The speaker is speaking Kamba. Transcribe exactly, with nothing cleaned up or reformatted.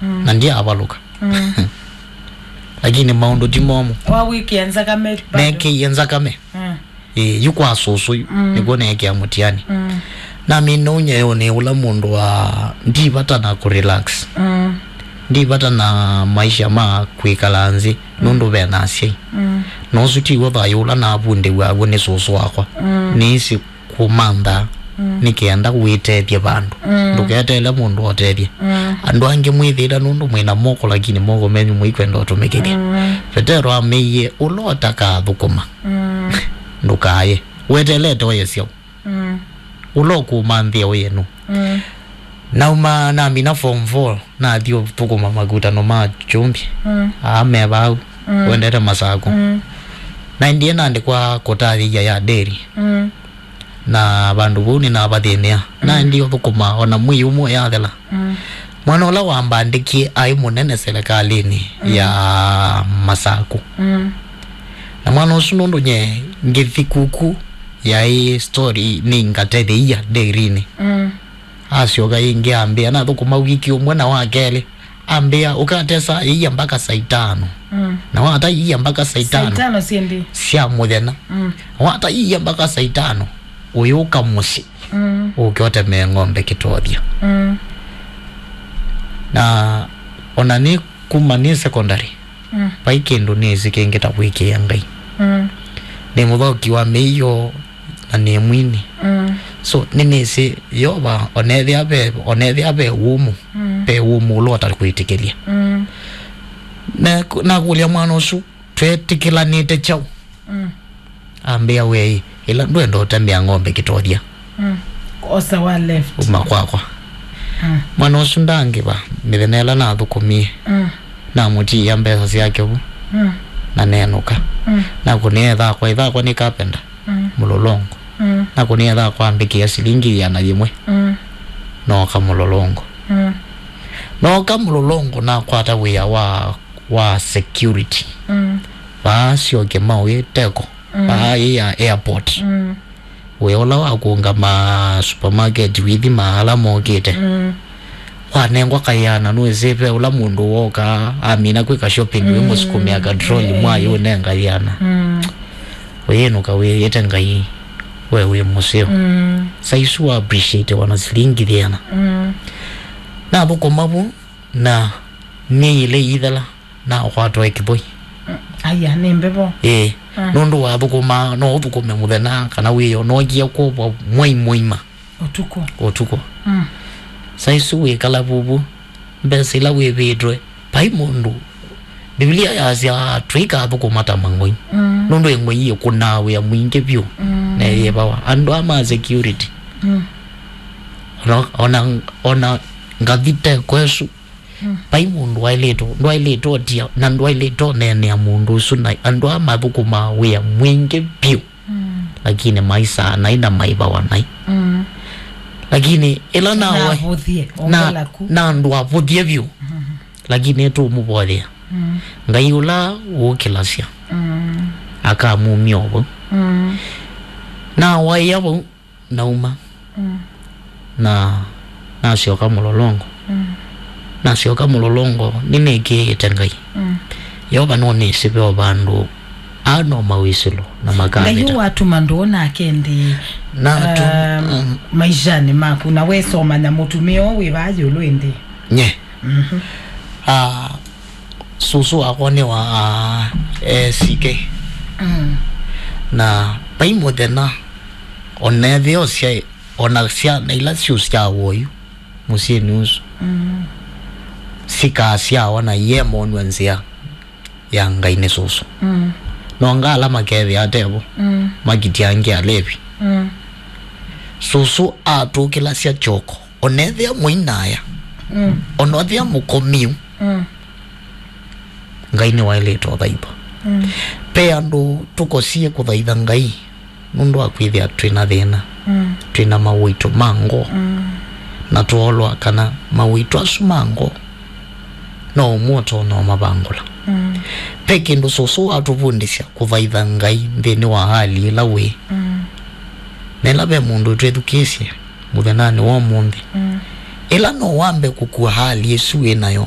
na ndiavalũka. Lakini maũndũ ti momũ. Wawĩkĩa nzakame bado. Neekĩie nzakame. Mm. Ĩĩ, yu kwa sũsũ yu, nĩkw'o neekĩa mũtiani. Mm. Namina ũnyaĩonĩ ũla mũndũ wa, ndi vata na kũrelax. Mm. Ndi vata na maisha ma kwĩkala nzĩ, nũndũ ve na asyai. Mm. Na ũsu tiw'o thayũ ũla navundĩw'a w'o nĩ sũsũ wakwa. Mm. Nĩĩsĩ kũmantha nĩ kenda wĩtethye vandũ. Mm. Ndũketeele mũndũ otethye. Mm. Andũ angĩ mwĩthĩĩla nũndũ mwĩ na moko, lakini moko menyu mũikwenda ũtũmĩkĩthya. Mm. Vetero ameie, ũla ũtakathũkũma, mm, ndũkaye. Weteelete ũye syaũ? Mm. Ũla ũkũmanthĩa ũye nũ? Mm. Nauma namina form four, nathi ũthũkũma makutano ma kyũmbi. Mm. Aa me vau, mm, wendete Masakũ. Mm. Naendie naandĩkwa kũtathĩia ya dairy. Mm. Na vandũ vau nĩnavathĩnĩa. Mm. Naendie ũthũkũma ona mwei ũmwe yathela. Mm. Mwana ũla wambandĩkie aĩ mũnene selekalĩnĩ, mm, ya Masakũ. Mm. Na mwana ũsu nũndũ nye ngĩthi kuku yaĩ story nĩ ngatetheia dairy-inĩ. Mm. Asyoka ĩngĩ ambĩa, nathũkũma wiki ũmwe na wa kelĩ, ambĩa, "Ũkatesa ĩia mbaka saa itano." Mm. Na wata ĩia mbaka saa itano. Saa itano syĩndĩ. Sya mũthenya. Mm. Na wata ĩia mbaka saa itano, ũyũka mũsyĩ. Mm. Ũke ũtemee ng'ombe kĩtothya. Mm. Na ona nĩ kuma nĩ secondary, mm, vai kĩndũ nĩsĩ kĩngĩ ta kwĩkĩĩa Ngai. Mm. Nĩ mũthaũki wa mĩio na nĩ mwini. Mm. So, nĩnĩsĩ Yeova, onethĩa ve, onethĩa ve wũmũ, mm, ve wũmũ ũla ũtakwĩtĩkĩlya. Mm. Na, nakũlya mwana ũsu, "Twetĩkĩlanĩte kyaũ?" Mm. Ambĩa, "Wei, ĩla ndwenda ũtemea ng'ombe kĩtothya." Mm. Osa wa left. Uma kwakwa. Mm. Mwana ũsu ndangĩva, mĩthenya ĩla nathũkũmie, mm, namũtiĩa mbesa syake vu, mm, na nenũka. Mm. Nakũnĩa ĩthakwa, ĩthakwa nĩ kapenda, mm, mũlolongo. Mm. Nakũnĩa ĩthakwa ambĩkĩa silingi ĩana yĩmwe. Mm. Nooka mũlolongo. Mm. Nooka mũlolongo, nakwata wĩa wa, wa security. Mm. Vaa Syoke Maũĩ Teko. Mm. Vaa ĩ ya airport. Mm. Wĩa ũla wa kũũngama supermarket wĩthima ala mokĩte. Mm. Wanengwa kayana, nũĩsĩ ve ũla mũndũ woka amina kwĩka shopping, mm, wĩmũsukumĩa katroli, mm, mwaĩ ũnenga yĩana. Mm. Ũyĩnũka wĩĩte Ngai, we wĩ mũseo. Mm. Saa isu wa appreciate wana silingi yĩana. Mm. Nathũkũma vu, na myei ĩlĩ ĩithela, nakwatwa ĩ kĩthũi. Mm, aya, nĩ mbevo. Ĩĩ. Mm. Nũndũ wathũkũma, no ũthũkũme mũthenya, kana wĩo, nookie kwovwa mwei mũima. Ũtukũ. Ũtukũ. Mm. Saa isu wĩkala vuvu, mbesa ila wĩvĩtwe, vai mũndũ. Biblia yasya tũikathũkũma ta mang'oi. Mm. Nũndũ ĩng'oi ĩkũnaa wĩa mwingĩ vyũ. Mm. Na yĩvawa. Andũ ama security. Mm. Ona, ona, ona ngathi te kwesu, mm, vai mũndũ waĩlĩtwe, ndwaĩlĩtwe ũtia, na ndwaĩlĩtwe ũneenea mũndũ ũsu, na andũ aa mathũkũmaa wĩa mwingĩ vyũ, mm, lakini maisaa nai na maivawa nai. Mm. Lakini ĩla nawe, navũthie, na, ongela ku, na andũ avũthie vyũ, mm-hmm, lakini tũmũvoyea. Mm. Ngai ũla wũkĩlasya, mm, akamumya o vau. Mm. Nawaĩa vau, nauma. Mm. Na nasyoka mũlolongo. Mm. Nasyoka mũlolongo, nĩnĩkĩĩte Ngai. Mm. Yeova nũnĩsĩ ve o vandũ ano mawĩsĩlo na Ngai makavĩta. Watuma ndũũ nake nthĩ, natu, um, mm, maishanĩ maku, na wesomanya mũtumĩa ũũ wĩ vaa ĩũlũ ĩndĩ. Nye. Mhm. Ah, sũsũ wakwa nĩ wa, ah, A C K. Mm. Na vai mũthenya, ona ethĩwa syaĩ, ona syana ila syũsyawa oyu mũsyĩnĩ ũsu, mm, sikasyawa na iye monw'a nzĩa ya Ngai nĩ sũsũ. Mm. No nga ala makethĩa atevo, mm, makitya angĩ alevi. Mm. Sũsũ atũkĩlasya kyoko, onethĩa mũinaya, mm, onethĩa mũkomiu, mm, Ngai nĩwaĩlĩte ũthaithwa. Mm. Ve andũ tũkosie kũthaitha Ngai nũndũ wa kwĩthĩa twĩ na thĩna, mm, twĩ na mawĩtũ ma ngoo, mm, na twoolwa kana mawĩtũ asu ma ngoo no ũmwe ũtonya ũmavangũla. Mm. Ve kĩndũ sũsũ watũvundĩsya kũthaitha Ngai nthĩnĩ wa hali ĩla wĩ. Mm. Na ĩla ve mũndũ twĩthukĩĩsye mũthenyanĩ wa ũmũnthĩ, mm, ĩla no wambe kũkua hali ĩsu wĩ nayo,